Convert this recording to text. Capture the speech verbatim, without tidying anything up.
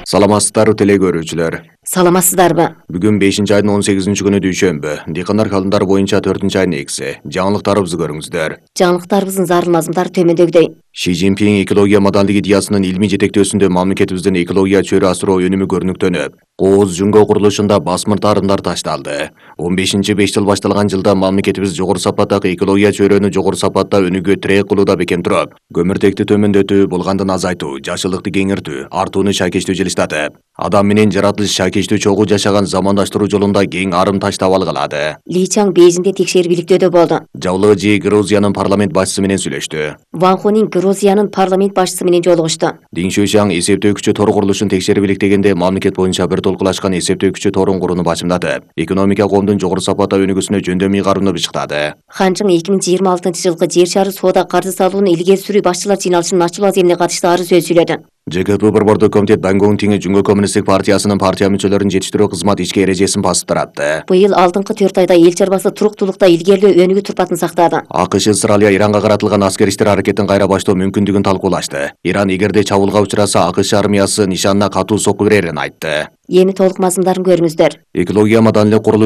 Саламатсыздарбы теле көрүүчүлөр. Саламатсыздарбы? Бүгүн бешинчи айдын он сегизинчи күнү дүйшөмбү. Дыйкандар календары боюнча төртүнчү айдын экиси. Жаңылыктарыбызды көрүңүздөр. Жаңылыктарыбыздын зарыл мазмундары төмөндөгүдөй. Ши Цзиньпин экология мадандык идеясынын илмий жетектөөсүндө мамлекетибиздин экология чөйрө асыроо өнүмү көрүнүктөнүп, Кооз Жүнгө курулушунда басмыр тарымдар ташталды. он бешинчи беш жыл башталган жылда мамлекетибиз жогору сапаттагы экология чөйрөнү жогору сапатта өнүгүүгө тирек кылууда бекем туруп, көмүртекти төмөндөтүү, булгандын азайтуу, жашылыкты кеңиртүү, артууну шакештөө жылыштатып, адам менен жаратылыш шакештөө чогуу жашаган замандаштыруу жолунда кең арым таштабал кылады. Ли Чаң Бейжиңде текшерүү бийликтөөдө болду. Жабылыгы Жи Грузиянын парламент башчысы менен сүйлөштү. Ван Хунин Грузиянын парламент башчысы менен жолугушту. Дин Шуйшаң эсептөөкүчү тор курулушун текшерип иликтегенде мамлекет боюнча бир толкулашкан эсептөөкүчү торун курууну башымдатып, экономика коомдун жогору сапатта өнүгүүсүнө жөндөмүй кароону бышыктады. Хан Чжың эки миң жыйырма алтынчы жылкы жер шары соода каржы салууну илгери сүрүү башчылар жыйналышынын ачылуу аземине катыштуу ары сөз сүйлөдү. Ж К П борбордук комитет Бангонг Тиңи Жүнгө коммунисттик партиясынын партия мүчөлөрүн жетиштирүү кызмат ишке эрежесин басып таратты. Быйыл алдыңкы төрт айда эл чарбасы туруктуулукта илгерилөө өнүгүү турпатын сактады. АКШ Ысыралия Иранга каратылган аскер иштер аракетин кайра баштоо мүмкүндүгүн талкуулашты. Иран эгерде чабуулга учураса АКШ армиясы нишанына катуу сокку берерин айтты. Эми толук мазмундарын көрүңүздөр. Экология маданилык курулуш